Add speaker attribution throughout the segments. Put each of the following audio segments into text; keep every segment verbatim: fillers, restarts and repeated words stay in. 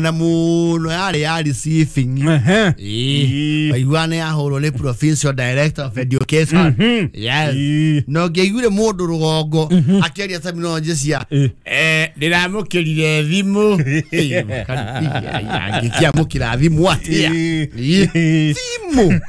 Speaker 1: Na muno yarĩ ya receiving.
Speaker 2: Ĩĩ.
Speaker 1: Waigua nĩ yahũrwo nĩ provincial director of education. Yes.
Speaker 2: Ĩĩ.
Speaker 1: Na ũngĩaiguire mũndũ rũgongo akĩaria terminology cia
Speaker 2: Ĩĩ.
Speaker 1: eh, ndĩramũkĩrire thimũ. Angĩkĩamũkĩra thimũ atĩa?
Speaker 2: Ĩĩ.
Speaker 1: Ĩĩ. Thimũ.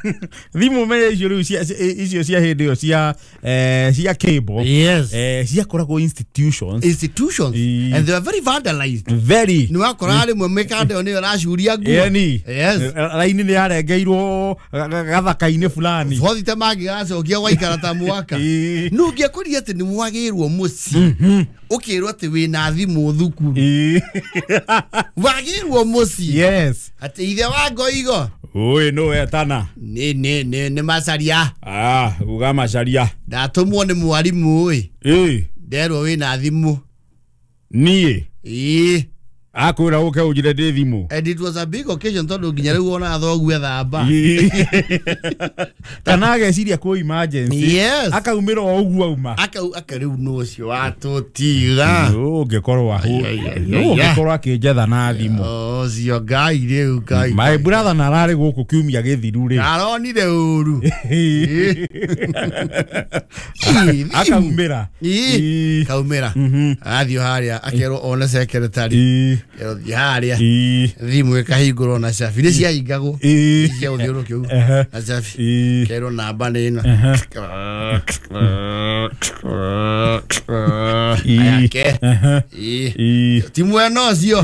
Speaker 2: Thimũ menya icio rĩu cia- cia- icio cia hĩndĩ ĩyo cia eh, cia cable.
Speaker 1: Yes.
Speaker 2: Eh, ciakoragwo institutions.
Speaker 1: Institutions.
Speaker 2: Ĩĩ.
Speaker 1: And they were very vandalized.
Speaker 2: Very.
Speaker 1: Nĩ wakora rĩmwe mĩkanda ĩyo nĩyo ĩracuria nguo.
Speaker 2: Yani.
Speaker 1: Yes.
Speaker 2: Raini nĩ yarengeirwo ga- ga- gathaka-inĩ fulani.
Speaker 1: Bothite mangĩgacokia gwaikara ta mwaka.
Speaker 2: Ĩĩ.
Speaker 1: Nũ ũngĩakorire atĩ nĩ mwagĩrwo mũciĩ, ũkĩrwo atĩ wĩna thimũ thukuru.
Speaker 2: Ĩĩ.
Speaker 1: Wagĩrwo mũciĩ.
Speaker 2: Yes.
Speaker 1: Atĩ ithe wa ngoigo.
Speaker 2: Ũĩ nũ wetana?
Speaker 1: Nĩ nĩ nĩ nĩ macaria.
Speaker 2: Ah, uga macaria.
Speaker 1: Ndatũmwo nĩ mwarimũ ĩ.
Speaker 2: Ĩĩ.
Speaker 1: Nderwo wĩna thimũ.
Speaker 2: Niĩ.
Speaker 1: Ĩĩ.
Speaker 2: Akwĩra ũke ũnjĩre ndĩ thimũ.
Speaker 1: And it was a big occasion tondũ nginya rĩu ona thoguo ethamba.
Speaker 2: Ĩĩ. Kana ageciria kwĩ emergency.
Speaker 1: Yes.
Speaker 2: Akaumĩra o ũguo auma.
Speaker 1: Akau aka rĩu nũ ũcio watũtiga.
Speaker 2: Nũ ũngĩkorwo ahũ-
Speaker 1: Ai, ai, ai,
Speaker 2: nũ
Speaker 1: ai,
Speaker 2: ũngĩkorwo akĩnjetha na thimũ.
Speaker 1: Ũcio Ngai rĩu Ngai.
Speaker 2: My brother na ararĩ gũkũ kiumia gĩthiru rĩ.
Speaker 1: Aronire ũru. Ĩĩ, thimũ.
Speaker 2: Akaumĩra.
Speaker 1: Ĩĩ.
Speaker 2: Ĩĩ.
Speaker 1: Kaumĩra.
Speaker 2: Mhm.
Speaker 1: Athiĩ harĩa akerwo one secretary.
Speaker 2: Ĩĩ.
Speaker 1: Kerwo thiĩ harĩa.
Speaker 2: Ĩĩ.
Speaker 1: Thimũ ĩkahingũrwo na cabi. Nĩ ciahingagwo.
Speaker 2: Ĩĩ.
Speaker 1: Cia gũthiũrũrũkia ũguo.
Speaker 2: Ehe.
Speaker 1: Na cabi.
Speaker 2: Ĩĩ.
Speaker 1: Kerwo namba nĩ ĩno.
Speaker 2: Ĩĩ.
Speaker 1: Ayake.
Speaker 2: Ehe.
Speaker 1: Ĩĩ.
Speaker 2: Ĩĩ.
Speaker 1: Ti mwena ũcio.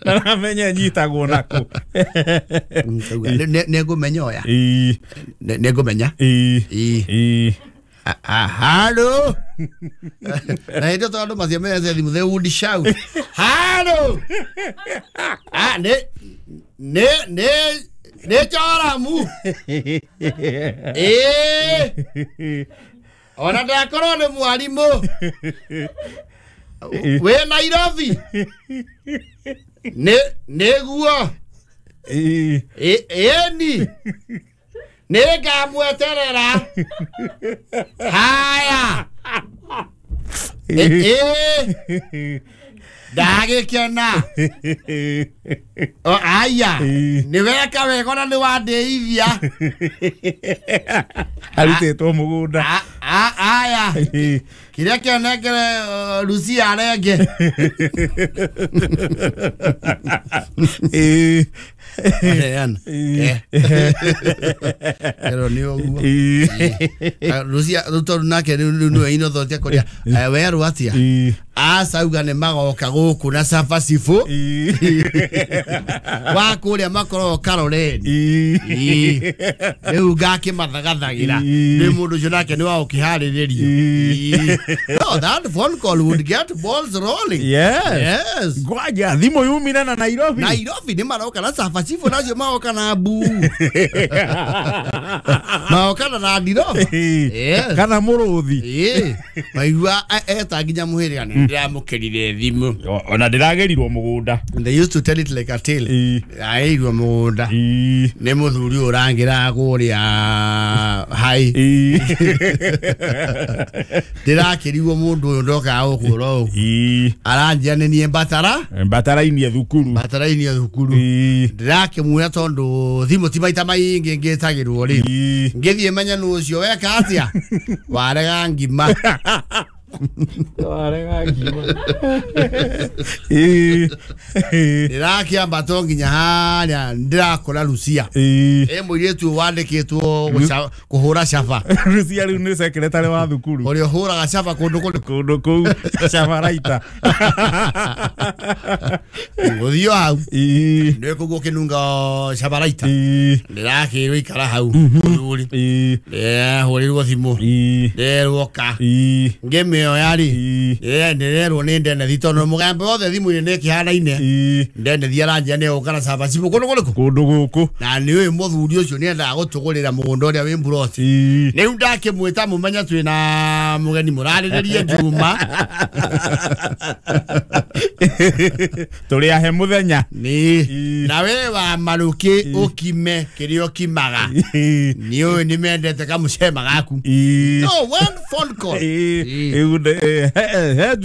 Speaker 2: Na namenya nyitagwo nakũ.
Speaker 1: Ngauga, nĩ- nĩ- nĩngũmenya ũya.
Speaker 2: Ĩĩ.
Speaker 1: Nĩ- Nĩngũmenya.
Speaker 2: Ĩĩ.
Speaker 1: Ĩĩ.
Speaker 2: Ĩĩ.
Speaker 1: Ah, ah, halo. Na hĩndĩ ĩyo tondũ andũ matiamenyete thimũ, they would shout halo. Ah, nĩ nĩ nĩ nĩ Joramu. Ĩĩ. Ona ndakorwo nĩ mwarimũ wĩ Nairobi. Nĩ nĩguo.
Speaker 2: Ĩĩ.
Speaker 1: Ĩ- ĩni nĩ ngamweterera. Haya. Ĩ- ĩ ndagĩkena. O, aya.
Speaker 2: Ĩĩ.
Speaker 1: Nĩ weka wega ona nĩ wandĩithia.
Speaker 2: Arutĩtwo mũgũnda.
Speaker 1: A- a- aya.
Speaker 2: Ĩĩ.
Speaker 1: Kĩrĩa kĩonekere uh, Lucia arenge.
Speaker 2: Ĩĩ.
Speaker 1: Aheana.
Speaker 2: Ĩĩ.
Speaker 1: Ero nĩ ũguo.
Speaker 2: Ĩĩ.
Speaker 1: Ah, Lucia rĩu tondũ nake rĩu rĩu nĩwe inothoti akũria werwo atĩa.
Speaker 2: Ĩĩ.
Speaker 1: Aca auga nĩ magoka gũkũ na cabaci bũ.
Speaker 2: Ĩĩ.
Speaker 1: Wa kũrĩa makoragwo Karoreni.
Speaker 2: Ĩĩ.
Speaker 1: Ĩĩ. Rĩu ngakĩmathagathagĩra.
Speaker 2: Ĩĩ.
Speaker 1: Nĩ mũndũ ũcio nake nĩ wa gũkĩharĩrĩrio.
Speaker 2: Ĩĩ.
Speaker 1: Ĩĩ. No, that phone call would get balls rolling.
Speaker 2: Yes.
Speaker 1: Yes.
Speaker 2: Ngwanja thimũ yumire na Nairobi.
Speaker 1: Nairobi nĩ maroka na cabaci bũ nacio magoka na mbu. Magoka na Land Rover. Yes.
Speaker 2: Kana mũrũthi.
Speaker 1: Ĩĩ. Maigua eta nginya mũhĩrĩga nĩ ndĩramũkĩrire thimũ.
Speaker 2: Ona ndĩragĩrirwo mũgũnda.
Speaker 1: And they used to tell it like a tale.
Speaker 2: Ĩĩ.
Speaker 1: Aigua mũgũnda.
Speaker 2: Ĩĩ.
Speaker 1: Nĩ mũthuri ũyũ ũrangĩraga kũrĩa hai.
Speaker 2: Ĩĩ.
Speaker 1: Ndĩrakĩrigwo mũndũ ũyũ ndokaga gũkũ oro ũguo.
Speaker 2: Ĩĩ.
Speaker 1: Aranjia nĩ niĩ mbatara.
Speaker 2: Mbatarainie thukuru.
Speaker 1: Mbatarainie thukuru.
Speaker 2: Ĩĩ.
Speaker 1: Ndĩrakĩmuoya tondũ thimũ ti maita maingĩ ngĩtagĩrwo rĩ.
Speaker 2: Ĩĩ.
Speaker 1: Ngĩthiĩ menya nũ ũcio weka atĩa. Warega ngima.
Speaker 2: Warega ngima. Ĩĩ.
Speaker 1: Ndĩrakĩambatwo nginya harĩa ndĩrakora Lucia.
Speaker 2: Ĩĩ.
Speaker 1: Ĩ mũirĩtu ũyũ wandĩkĩtwo gũca- kũhũra caba.
Speaker 2: Lucia rĩu nĩ secretary wa thukuru.
Speaker 1: Ũrĩa ũhũraga caba kũndũ kũrĩ
Speaker 2: Kũndũ kũu cabaraita.
Speaker 1: Gũthiĩ o hau.
Speaker 2: Ĩĩ.
Speaker 1: Nĩ kũguo ũkĩnunga cabaraita.
Speaker 2: Ĩĩ.
Speaker 1: Ndĩrakĩrwo ikara hau mũthuri.
Speaker 2: Ĩĩ.
Speaker 1: Ndĩrahũrĩrwo thimũ.
Speaker 2: Ĩĩ.
Speaker 1: Nderwo ka.
Speaker 2: Ĩĩ.
Speaker 1: Ngĩmĩoya rĩ.
Speaker 2: Ĩĩ.
Speaker 1: Ndĩrerwo nĩ Ndenethi tondũ mũgambo wothe thimũ-inĩ nĩ ĩkĩhanaine.
Speaker 2: Ĩĩ.
Speaker 1: Ndenethi aranjia nĩ egũka na cabaci kũndũ kũrĩkũ.
Speaker 2: Kũndũ gũkũ.
Speaker 1: Na nĩ ũyũ mũthuri ũcio nĩ endaga gũtũgũrĩra mũgũnda ũrĩa wĩ mburoti.
Speaker 2: Ĩĩ.
Speaker 1: Rĩu ndakĩmwĩta mũmenya twĩna mũgeni mũrarĩrĩrie Juma.
Speaker 2: Tũrĩ ahe mũthenya.
Speaker 1: Nĩ.
Speaker 2: Ĩĩ.
Speaker 1: Na we wa marũkĩ ũkime kĩrĩa ũkimaga.
Speaker 2: Ĩĩ.
Speaker 1: Nĩ ũĩ nĩ mendete kamũcema gaku.
Speaker 2: Ĩĩ.
Speaker 1: No one phone call.
Speaker 2: Ĩĩ.
Speaker 1: Ĩĩ.
Speaker 2: Ĩĩ, he he